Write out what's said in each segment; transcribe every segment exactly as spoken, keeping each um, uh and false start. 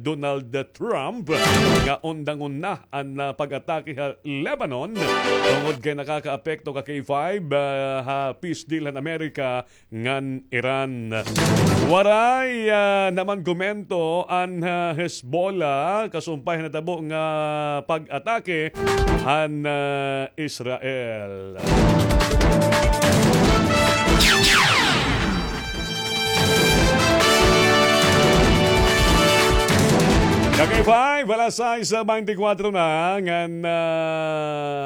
Donald Trump nga undangon na an, ah, pag-atake ha Lebanon tungod kay nakakaapekto ka K five, ah, ha peace deal han Amerika ngan Iran. Waray, ah, naman komento an, ah, Hezbollah kasumpay han natabo nga pag-atake han, ah, Israel. Ka-K five, alas sais beintikwatro na, ngan, ah,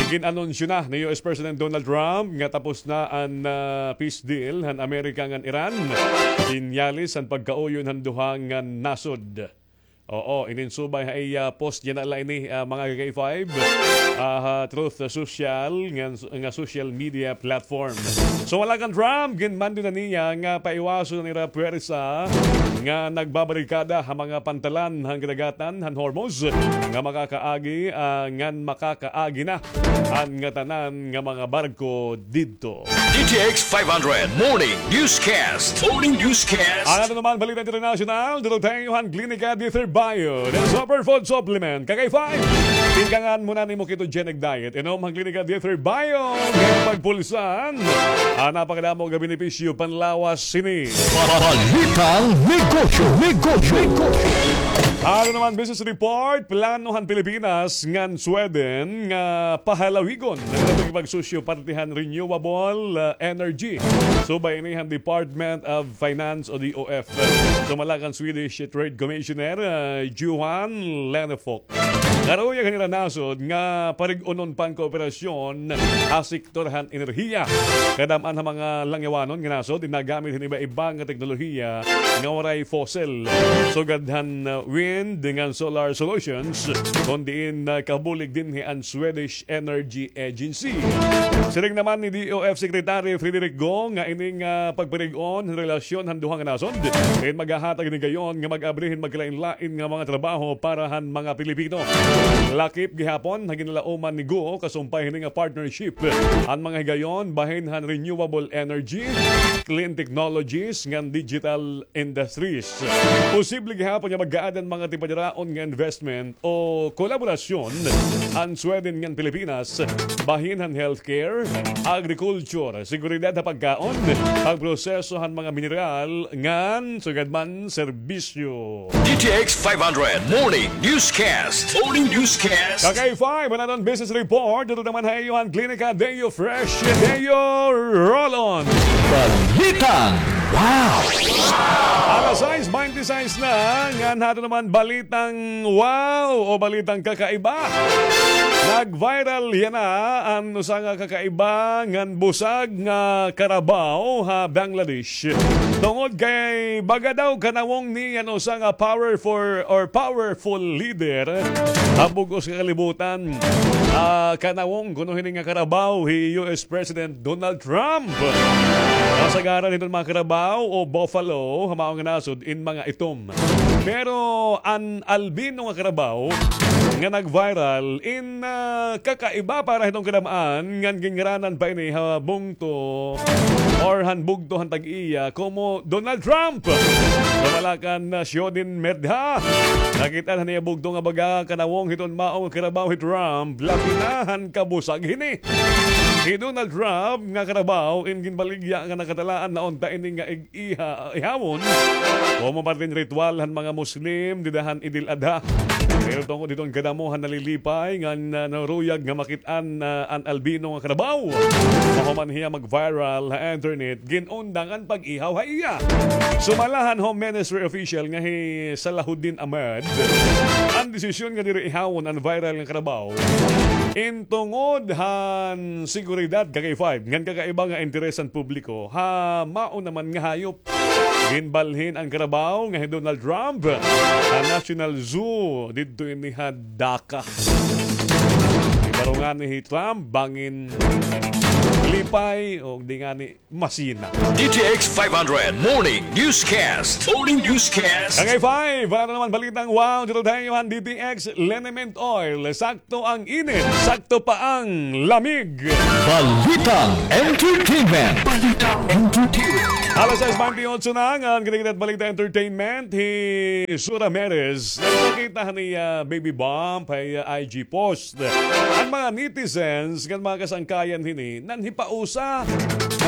igin-anunsyo na ni U S President Donald Trump nga tapos na an, ah, peace deal han Amerika ngan Iran. Sinyales han pagkauyon han duha nga nasod. Oo, ininsubay ha iya post yana la ini, ah, mga ka-K five, ah, ha Truth Social nga, nga social media platform. So, wala kan Trump, ginmando na niya nga paiwason an ira puwersa nga nagbabarikada ha mga pantalan han kadagatan han Hormuz nga makakaagi, ah, ngan makakaagi na an ngatanan nga mga barko didto. D T X five hundred Morning Newscast. Morning Newscast. An aton naman balita internasyonal, duro tayo han Klinika Dieter Bio, the superfood supplement. Ka-K five, tingkangan mo na nimo ketogenic diet. Inom han Klinika Dieter Bio, kay pagpulsan an napakadamo nga benepisyo panlawas sini. Balitang negosyo, negosyo, negosyo. Ano naman business report, plano han Pilipinas ngan Sweden nga pahalawigon an pagsusuporta han renewable, uh, energy. Subay ini han Department of Finance o D O F. Sumala kan Swedish Trade Commissioner, uh, Johan Lennefok. Karuyag han ira nasod nga parig-unon pa an kooperasyon ha sektor han enerhiya. Kadam-an ha mga langyawanon nga nasod, nagamit hin iba-iba nga teknolohiya nga waray fossil. Sugad han, uh, wind ngan solar solutions, kon diin, uh, kabulig dinhi an Swedish Energy Agency. Siring naman ni D O F Secretary Frederick Go nga ini nga pagparig-on hin relasyon han duha nga nasod, diin maghahatag hin higayon nga mag-abri hin magkalain-lain nga mga trabaho para han mga Pilipino. Lakip gihapon ha ginlauman ni Go kasumpay hini nga partnership an mga higayon bahin han renewable energy, clean technologies, ngan digital industries. Posible gihapon nga mag-add an mga tipadaraon nga investment o kolaborasyon an Sweden ngan Pilipinas bahin han healthcare, agriculture, seguridad ha pagkaon, pagproseso han mga mineral, ngan sugad man serbisyo. D T X five hundred Morning Newscast. Morning Newscast. Ka-K five, an aton business report, duro naman ha iyo han Klinika Deo Fresh, Deo Roll-On. Balitang wow! Alas sais beintisais na, ngan ha aton naman balitang wow o balitang kakaiba. Nag-viral yana an usa nga kakaiba ngan busag nga karabaw ha Bangladesh. Tungod kay baga daw kanawong ni an usa nga powerful or powerful leader ha bug-os nga kalibutan. Ah, kanawong kuno hini nga karabaw hi U S President Donald Trump. Kasagaran hiton mga karabaw o buffalo ha maong nga nasod in mga itom. Pero an albino nga karabaw nga nag-viral in, ah, kakaiba para hiton kadam-an ngan ginngaranan pa ini ha bungto or han bugto han tag-iya komo Donald Trump. Sumala kan, ah, Shodin Merdha, nakit-an han iya bugto nga baga kanawong hiton maong karabaw hi Trump, labi na han kabusag hini. Hi Donald Trump nga karabaw in ginbaligya nga nakatalaan na unta ini nga ig-, iha-, ihawon komo parte hin ritual han mga Muslim dida han Eid al-Adha. Pero tungod hiton kadamo han nalilipay ngan, ah, naruyag nga makit-an, ah, an albino nga karabaw, mahuman hiya mag-viral ha internet, gin-undang an pag-ihaw ha iya. Sumala han Home Ministry official nga hi Salahuddin Ahmed, an desisyon nga diri ihawon an viral nga karabaw in tungod han seguridad, ka-K five, ngan kakaiba nga interes han publiko ha mao naman nga hayop. Ginbalhin an karabaw nga hi Donald Trump ha National Zoo didto ini ha Dhaka. Ibarungan ni hi Trump bangin lipay o di ngani masina. D T X five hundred Morning Newscast. Morning Newscast. Ka-K five, para naman balitang wow, dito tayo han D T X Liniment Oil. Sakto ang init, sakto pa ang lamig. Balitang entertainment. Balitang entertainment. Alas sais baynte otso na ngan, kini kita it Balita Entertainment, hi Sue Ramirez. Nagpakita han iya baby bump ha iya I G post. An mga netizens ngan mga kasangkayan hini, nanhipausa.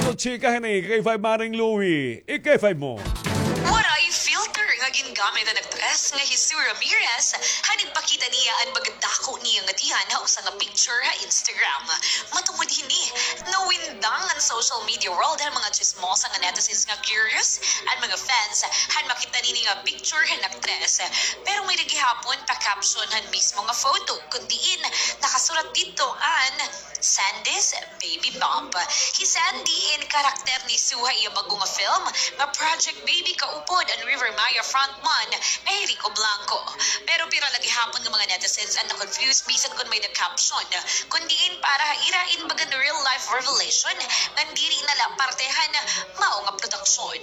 Ano chika hini, K five Maring Louie? I-K five mo. Waray filter nga gingamit an aktres nga hi Sue Ramirez han igpakita niya an pagdako niya nga tiyan ha usa nga picture ha Instagram. Matungod hini, nawindang an social media world han mga tsismosa nga netizens nga curious an mga fans han makita nini nga picture han aktres. Pero may-ada gihapon pa-caption han mismo nga photo, kun diin nakasurat didto an Sandy's Baby Bump. Hi Sandy in karakter ni Sue ha iya bag-o nga film nga Project Baby, kaupod an River Maya frontman nga hi Rico Blanco. Pero pira la gihapon nga mga netizens an na-confuse bisan kon may-ada caption, kun diin para ha ira in bagan real life revelation ngan diri na la parte han mao nga produksyon.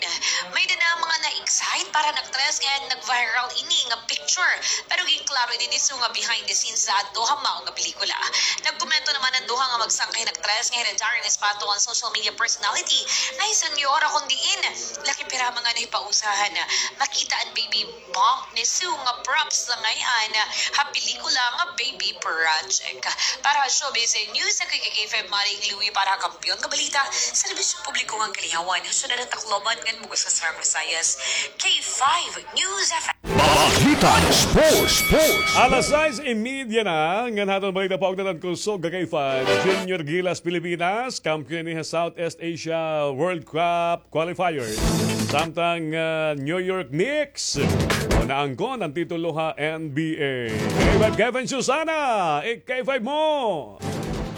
May-ada na mga na-excite para han aktres ngan nag-viral ini nga picture. Pero ginklaro ini ni Sue nga behind the scenes la adto ha mao nga pelikula. Nagkomento naman an duha nga magsangkay nga aktres nga hira Darren Espanto ngan social media personality nga hi Senyora, kun diin laki pira mga nahipausa han makita an baby bump ni Sue nga props la ngay-an ha pelikula nga Baby Project. Para ha Showbiz News, ako hi K five Maring Louie para ha Kampiyon nga Balita, Serbisyo Publiko ngan Kalingawan, ha syudad han Tacloban ngan bug-os nga Central Visayas, K five News F M. Balita Sports, Sports. Alas sais y media na, ngan ha aton balita, paugdan an kusog ha K five. Junior Gilas Pilipinas, kampiyon ini ha Southeast Asia World Cup qualifiers. Samtang, ah, New York Knicks, o, naangkon an titulo ha N B A. K five Kevin Susana, i-K five mo.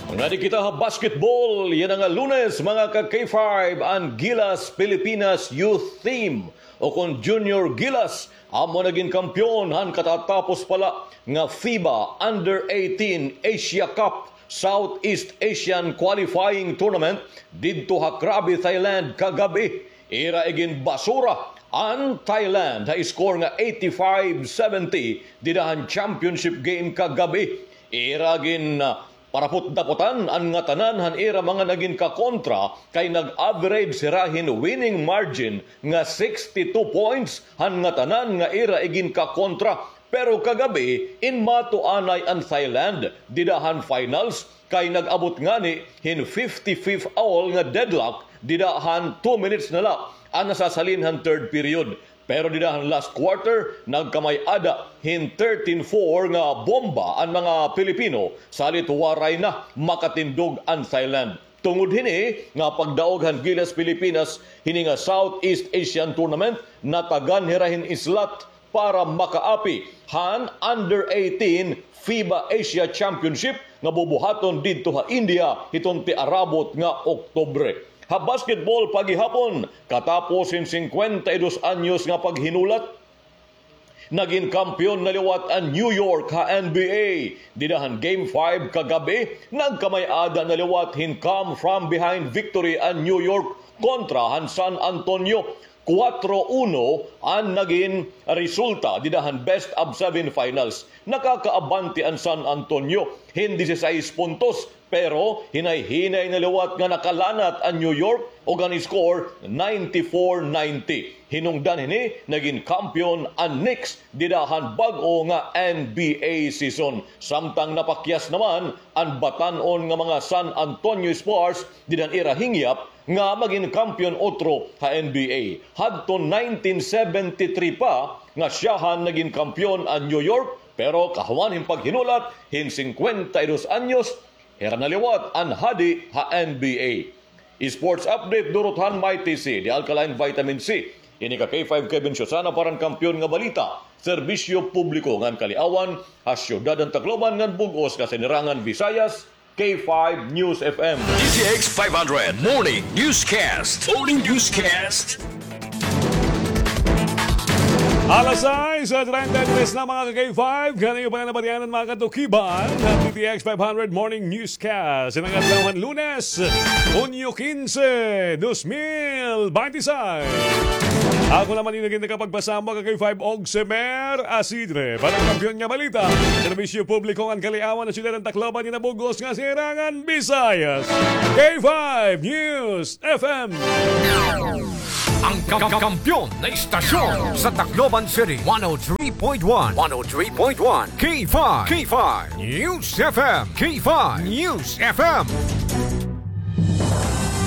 Ngadi kita ha basketball yana nga Lunes, mga ka-K five, an Gilas Pilipinas Youth Team o kon Junior Gilas, amo nagin kampiyon han katatapos pa la nga FIBA Under eighteen Asia Cup Southeast Asian Qualifying Tournament didto ha Krabi, Thailand, kagab-i. Ira iginbasura an Thailand ha score nga eighty-five seventy dida han championship game kagab-i. Ira gin, ah, parapot-dapotan an ngatanan han ira mga nagin kakontra, kay nag-average hira hin winning margin nga sixty-two points han ngatanan nga ira igin kakontra. Pero kagab-i, inmato anay an Thailand dida han finals, kay nag-abot ngani hin fifty-fifth all nga deadlock dida han two minutes na la an nasasalin han third period. Pero dida han last quarter, nagkamay-ada hin thirteen four nga bomba an mga Pilipino, salit waray na makatindog an Thailand. Tungod hini nga pagdaog han Gilas Pilipinas hini nga Southeast Asian Tournament, natagan hira hin slot para makaapi han Under eighteen FIBA Asia Championship nga bubuhaton didto ha India hiton tiarabot nga Oktubre. Ha basketball pa gihapon, katapos hin singkwenta y dos anyos nga paghinulat, nagin kampiyon na liwat an New York ha N B A. Dida han Game five kagab-i, nagkamay-ada na liwat hin come from behind victory an New York kontra han San Antonio. Kuwatro uno an nagin resulta dida han best of seven finals. Nakakaabante an San Antonio hin disisais puntos, pero hinay-hinay na liwat nga nakalanat an New York ug an score ninety-four ninety. Hinungdan hini, nagin kampiyon an Knicks dida han bag-o nga N B A season. Samtang napakyas naman an batan-on nga mga San Antonio Spurs dida han ira hingyap nga magin kampiyon utro ha N B A. Hadton nineteen seventy-three pa nga syahan nagin kampiyon an New York, pero kahuman hin paghinulat hin singkwenta y dos anyos, hira na liwat an hadi ha N B A. Sports update, durot han Mighty C, the alkaline vitamin C. Ini ka K five Kevin Susana para han Kampiyon nga Balita, Serbisyo Publiko ngan Kaliawan, ha syudad han Tacloban ngan bug-os nga Sinirangan Visayas, K five News F M. D T X five hundred Morning Newscast. Morning Newscast. Alas sais treinta y tres na, mga ka-K five. Ngani iyo pa nga nabatian an mga katukiban han D T X five hundred Morning Newscast. Ini nga adlaw han Lunes, Hunyo kinse, dos mil baynte sais. Ako naman ini nga nakapagpasamba, ka-K five, Ogsemer Asidre, para han Kampiyon nga Balita, Serbisyo Publiko ngan Kaliawan, ha syudad han Tacloban ngan ha bug-os nga Sinirangan Visayas, K five News F M. Ang kam- kampiyon na istasyon sa Tacloban City, one oh three point one, one oh three point one, K five, K five News F M, K five News F M.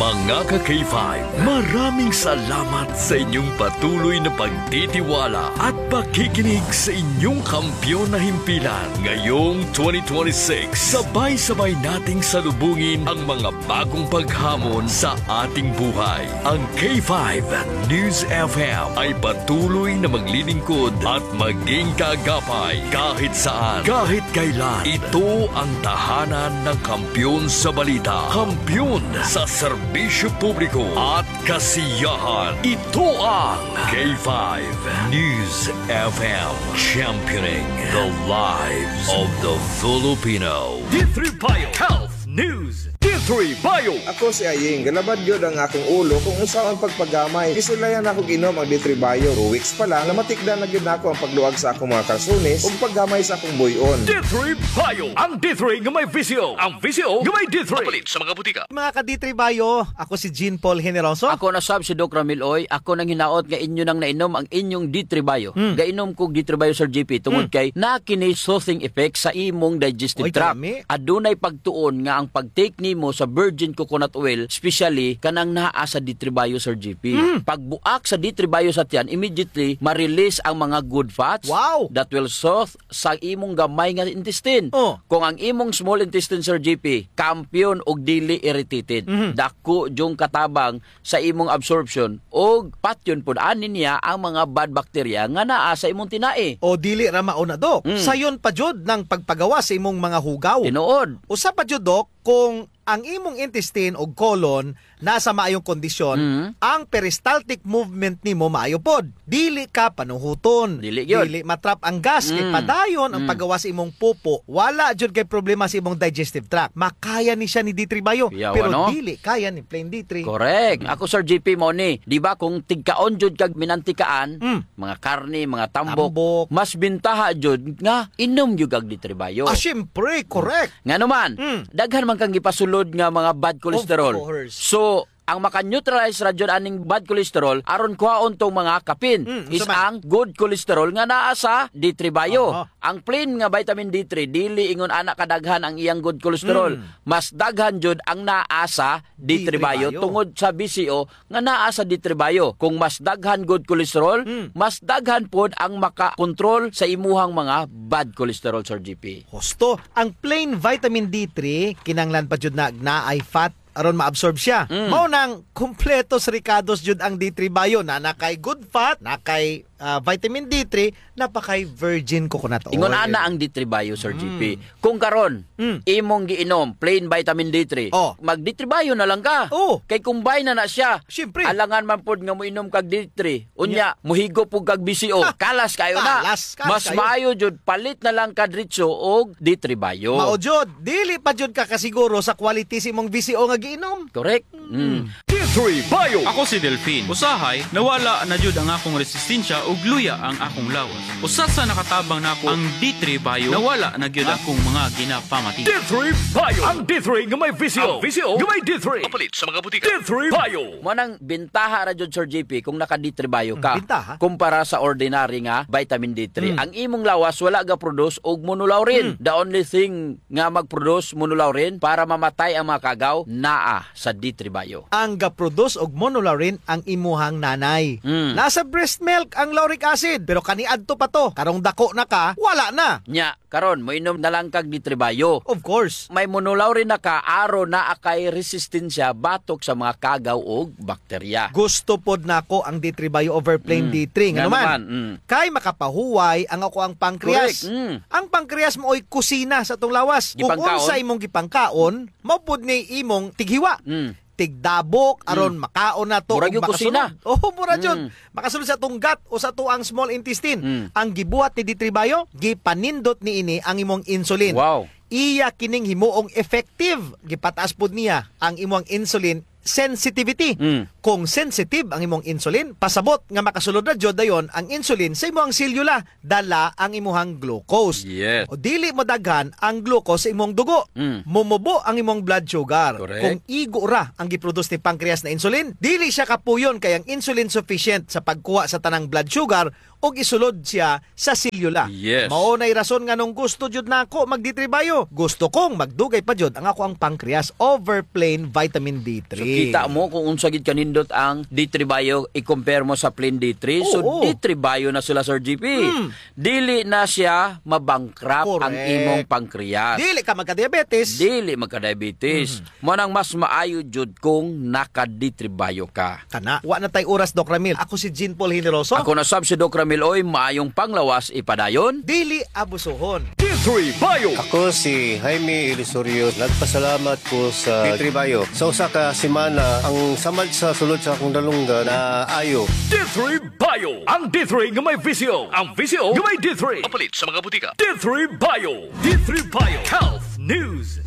Mga ka-K five, maraming salamat sa inyong patuloy na pagtitiwala at pakikinig sa inyong kampiyon na himpilan. Ngayong twenty twenty-six, sabay-sabay nating salubungin ang mga bagong paghamon sa ating buhay. Ang K five News F M ay patuloy na maglilingkod at maging kaagapay kahit saan, kahit kailan. Ito ang tahanan ng kampiyon sa balita, kampiyon sa serbisyo publiko at kasiyahan. Ito ang K five News F M, championing the lives of the Filipino. D three Bio Health News. D three Bio. Ako si Aying. Galabad gyud ang akong ulo kung unsaon pagpagamay. Gisulayan nako og inom ang D three Bio. Two weeks pa lang, namatikdan na gyud nako ang pagluag sa akong mga kalsones ug paggamay sa akong buy-on. D three Bio. Ang D three nga may V C O. Ang V C O nga may D three. Mapalit sa mga butika. Mga ka-D three Bio, ako si Jean Paul Generoso. Ako na sab si Doc Ramil Oy. Ako nanghinaot nga inyo nang nainom ang inyong D three Bio. Hmm. Gainom ko D three Bio, Sir G P, tungod Hmm. kay naa kini soothing effect sa imong digestive Oy, tract. Kalami. Adunay pagtuon nga ang pag-take nimo sa virgin coconut oil, especially kanang naa sa D three Bio, Sir G P. Hmm. Pagbuak sa D three Bio sa tiyan, immediately ma-release ang mga good fats Wow. that will soothe sa imong gamay nga intestine. Oh. Kung ang imong small intestine, Sir G P, kampiyon og dili irritated, Mhm. dako jud katabang sa imong absorption, og patyon pod ani niya ang mga bad bacteria nga naa sa imong tinai. O dili ra mauna, Dok. Mm. Sayon pa jud nang pagpagawas sa imong mga hugaw. Tinuod. Usa pa jud, Dok, kung ang imong intestine o colon nasa maayong kondisyon, Mm. ang peristaltic movement nimo maayo pod. Dili ka panuhoton. Dili gyud. Dili matrap ang gas, kay Mm. padayon ang Mm. paggawas sa imong pupo. Wala jud kay problema sa imong digestive tract. Makaya ni siya ni D three Bio, Yawa, pero no? dili kaya ni plain D three. Correct. Mm. Ako, Sir G P, mao ni. Di ba, kung tigkaon jud kag minantikaan, Mm. mga karne, mga tambok, Tambok. mas bintaha jud nga inom jud kag D three Bio. Ah, syempre, correct. Ngano man, Mm. daghan man kang gipasulod nga mga bad cholesterol. Of course. So, ang maka-neutralize ra jud aning bad cholesterol, aron kuhaon tong mga kapin, Mm, is unsa man? ang good cholesterol nga naa sa D three Bio. Aha. Ang plain nga vitamin D three, dili ingon ana kadaghan ang iyang good cholesterol. Mm. Mas daghan jud ang naa sa D three D three Bio Bio. tungod sa V C O nga naa sa D three Bio. Kung mas daghan good cholesterol, Mm. mas daghan pod ang makakontrol sa imuhang mga bad cholesterol, Sir G P. Husto, ang plain vitamin D three, kinahanglan pa jud na naay fat aron ma-absorb siya. Mm. Mao nang kumpleto sa rikados jud ang D three Bio, na, naa kay good fat, naa kay, ah, vitamin D three, naa pa kay virgin coconut oil. Ingon ana ang D three Bio, Sir Mm. G P. Kung karon, Mm. imong giinom plain vitamin D three, Oh. mag-D three Bio na lang ka. Oh. Kay combine na na siya. Siyempre. Alangan man pod nga moinom kag D three. Unya, Nya. muhigop pod kag V C O. Ha! Kalas kaayo na. Kalas, kalas Mas kaayo. maayo jud, palit na lang ka diretso og D three Bio. Mao jud, dili pa jud ka kasiguro sa quality sa imong V C O nga giinom. Correct. Mm. Mm. D three Bio. Ako si Delfin. Usahay, nawala na jud ang akong resistensya ug luya ang akong lawas. Usa sa nakatabang nako ang D three Bio. Nawala na gyud akong mga ginapamati. D three Bio. Ang D three nga may V C O. Ang V C O nga may D three. Mapalit sa mga butika. D three Bio. Mao nang bintaha ra jud, Sir G P, kung naka-D three Bio ka. Mm, bintaha. Kumpara sa ordinary nga vitamin D three. Mm. Ang imong lawas wala ga-produce og monolaurin. Mm. The only thing nga mag-produce monolaurin para mamatay ang mga kagaw, naa sa D three Bio. Ang ga-produce og monolaurin ang imuhang nanay. Mm. Naa sa breast milk ang lauric acid, pero kaniadto pa to. Karong dako na ka, wala na. Nya, karon, moinom na lang kag D three Bio. Of course. May monolaurin na ka, aron naa kay resistensya batok sa mga kagaw ug bakterya. Gusto pod nako ang D three Bio over plain Mm. D three. Ngano Ngano man? man? Mm. Kay makapahuway ang akoang pancreas. Correct. Mm. Ang pancreas maoy kusina sa atong lawas. Kung Gipangkaon? unsa imong gipangkaon, mao pod ni imong tighiwa. Mm. Tigdabok, aron Mm. makaon nato Murag ug yung kusina. makasulod. Oh, mura jud. Mm. Makasulod sa atong gut o sa atoang small intestine. Mm. Ang gibuhat ni D three Bio, gipanindot niini ang imong insulin. Wow. Iya kining himuong effective. Gipataas pod niya ang imong insulin sensitivity. Mm. Kung sensitive ang imong insulin, pasabot nga makasulod na jud dayon ang insulin sa imong selula, dala ang imuhang glucose. Yes. O dili madaghan ang glucose sa imong dugo. Mm. Mumubo ang imong blood sugar. Correct. Kung igo ra ang giproduce ni pancreas na insulin, dili siya kapuyon kay ang insulin sufficient sa pagkuha sa tanang blood sugar og isulod siya sa selula. Yes. Mao nay rason nganong gusto jud nako mag D three Bio. Gusto kong magdugay pa jud ang ako ang pancreas over plain vitamin D three. So, kita mo kung unsa gid kanindot ang D three Bio i-compare mo sa plain D three. So, oo. D three Bio na sila, Sir G P. Hmm. Dili na siya mabankrupt ang, correct, imong pancreas. Dili ka magka-diabetes. Dili magka-diabetes. Hmm. Mao nang mas maayo jud kung naka-D three Bio ka. Kana. Wa na tay oras, Doc Ramil. Ako si Jean Paul Generoso. Ako na sab si Doc Ramil Oy, maayong panglawas ipadayon. Dili abusuhon. D three Bio. Ako si Jaime Ilusorio. Nagpasalamat ko sa D three Bio. Sa usa ka semana, ang samad sa sulod sa akong dalunggan naayo. D three Bio. Ang D three nga may visyo. Ang visyo nga may D three. Mapalit sa mga butika. D three Bio. D three Bio Health News.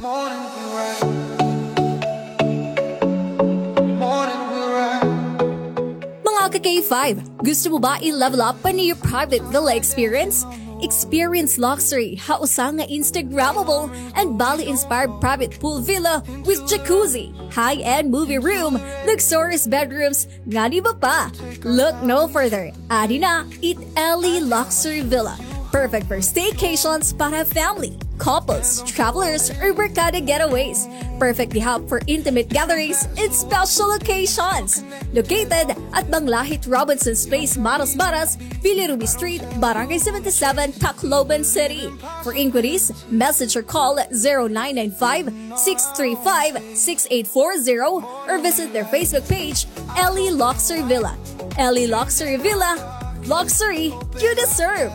Mga ka K five, gusto mo ba i-level up pa niyo private villa experience? Experience luxury ha usa nga Instagrammable and Bali-inspired private pool villa with jacuzzi, high-end movie room, luxurious bedrooms, ngan iba pa. Look no further. Adi na it Ellie Luxury Villa. Perfect for staycations para family, couples, travelers, or barkada getaways. Perfect gihap for intimate gatherings and special occasions. Located at Banglahit Robinson's Place, Maras Maras, Villa Ruby Street, Barangay seventy-seven, Tacloban City. For inquiries, message or call zero nine nine five, six three five, six eight four zero or visit their Facebook page, Ellie Luxury Villa. Ellie Luxury Villa, luxury you deserve.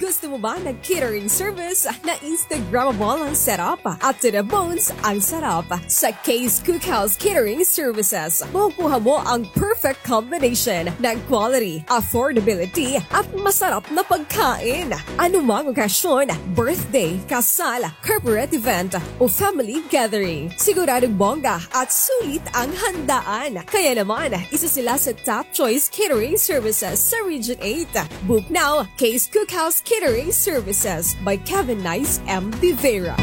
Gusto mo ba ng catering service na Instagrammable ang setup at to the bones ang sarap? Sa Kay's Cookhouse Catering Services, makukuha mo ang perfect combination ng quality, affordability, at masarap na pagkain. Anumang okasyon, birthday, kasal, corporate event, o family gathering, siguradong bongga at sulit ang handaan. Kaya naman, isa sila sa top choice catering services sa Region eight. Book now, Kay's Cookhouse Catering Services by Kevin Nice M. De Vera.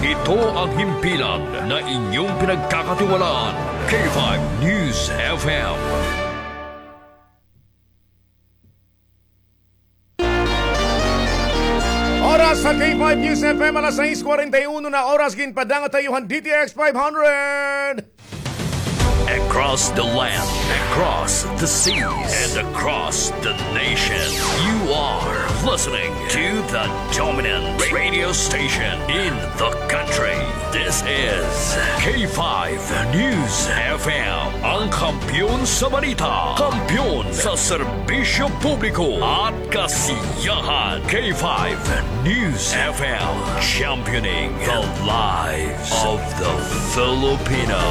Ito ang himpilan na inyong pinagkakatiwalaan, K five News F M. Oras sa K five News F M, alas sais kwarenta y uno na oras, ginpadangat ha iyo han D T X five hundred. Across the land, across the seas, and across the nation, you are listening to the dominant radio station in the country. This is K five News F M, ang kampiyon sa balita, kampiyon sa serbisyo publiko at kasiyahan. K five News F M, championing the lives of the Filipino.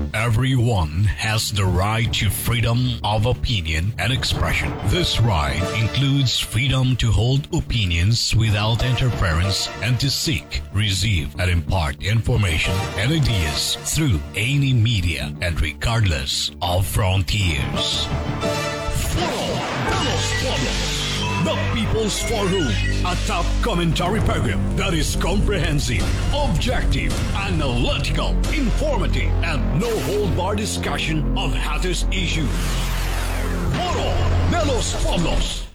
Everyone has the right to freedom of opinion and expression. This right includes freedom to hold opinions without interference and to seek, receive, and impart information and ideas through any media and regardless of frontiers. Foro de los Pueblos, the People's Forum, a top commentary program that is comprehensive, objective, analytical, informative, and no-hold-bar discussion of hottest issues. Foro de los Pueblos.